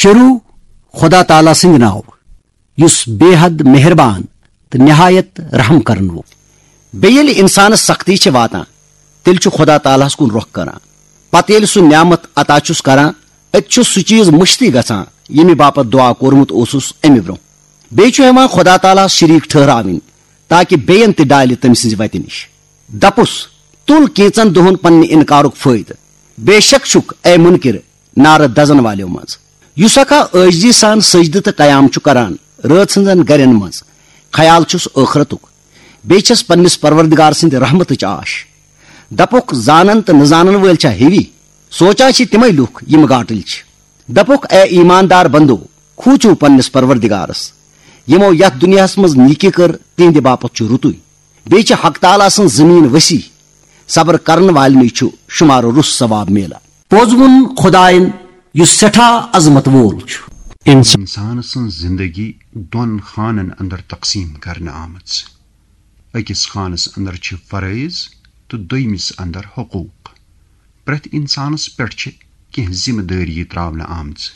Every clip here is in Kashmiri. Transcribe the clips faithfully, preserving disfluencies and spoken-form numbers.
چیرو خدا تعالیٰ سٕنٛدِ ناوٕ، یُس بے حد مہربان تہٕ نہایت رحم کرن وول۔ بیٚیہِ ییٚلہِ انسانس سختی چھِ واتان، تیٚلہِ چھُ خدا تعالیٰ ہس کُن رۄخ کران۔ پتہٕ ییٚلہِ سُہ نعمت عطا چھُس کران، أتۍ چھُ سُہ چیز مٔشتٕے گژھان، ییٚمہِ باپتھ دعا کوٚرمُت اوسُس امہِ برونٛہہ۔ بیٚیہِ چھُ ہٮ۪وان خدا تعالیٰ ہس شریٖک ٹھٔہراوٕنۍ، تاکہِ بیٚین تہِ ڈالہِ تٔمۍ سٕنٛزِ وتہِ نِش۔ دپُس، تُل کینٛژن دۄہن پننہِ انکارُک فٲیدٕ۔ بے شک چھُکھ، اے منکر، نارٕ دزن والیو منٛز۔ یُس اکھا عٲجزی سان سجدٕ تہٕ قیام چھُ کران رٲژ ہٕنٛزن گرٮ۪ن منٛز، خیال چھُس ٲخرتُک، بیٚیہِ چھس پننِس پروردگار سٕنٛدِ رحمتٕچ آش۔ دپُکھ، زانن تہٕ نہٕ زانن وٲلۍ چھا ہِوی؟ سونچان چھِ تِمے لُکھ، یِم گاٹٕلۍ چھِ۔ دپُکھ، اے ایماندار بندو، کھوٗژِو پننِس پروردگارس، یِمو یتھ دُنیاہس منٛز نیکی کٔر، تِہنٛدِ باپتھ چھُ رُتُے۔ بیٚیہِ چھِ حق تعالیٰ سٕنٛز زٔمیٖن وسیع، صبر کرن والنٕے چھُ شُمارٕ رُس ثواب میلان۔ پوٚز ووٚن خدایَن، یُس سٮ۪ٹھاہ عظمت وول چھُ۔ انسان انسان سٕنٛز زندگی دۄن خانن اندر تقسیم کرنہٕ آمٕژ۔ أکِس خانس اندر چھِ فرٲیض تہٕ دوٚیمِس اندر حقوق۔ پرٛٮ۪تھ انسانس پٮ۪ٹھ چھِ کینٛہہ ذمہٕ دٲری تراونہٕ آمژٕ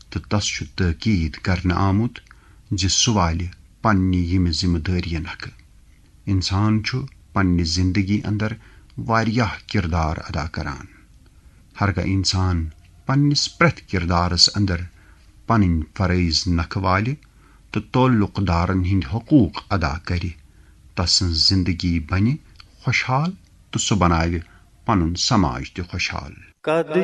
تہٕ تس چھُ تٲکید کرنہٕ آمُت زِ سُہ والہِ پننہِ یِمہِ ذمہٕ دٲریہِ نکھٕ۔ انسان چھُ پننہِ زندگی اندر واریاہ کردار ادا کران۔ ہرگاہ انسان پننِس پرٛٮ۪تھ کردارس اندر پنٕنۍ فرٲیض نکھٕ والہِ تہٕ تعلق دارن ہٕنٛدۍ حقوق ادا کرِ، تسٕنٛز زندگی بنہِ خۄشحال تہٕ سُہ بناوِ پنُن سماج تہِ خۄشحال۔ قد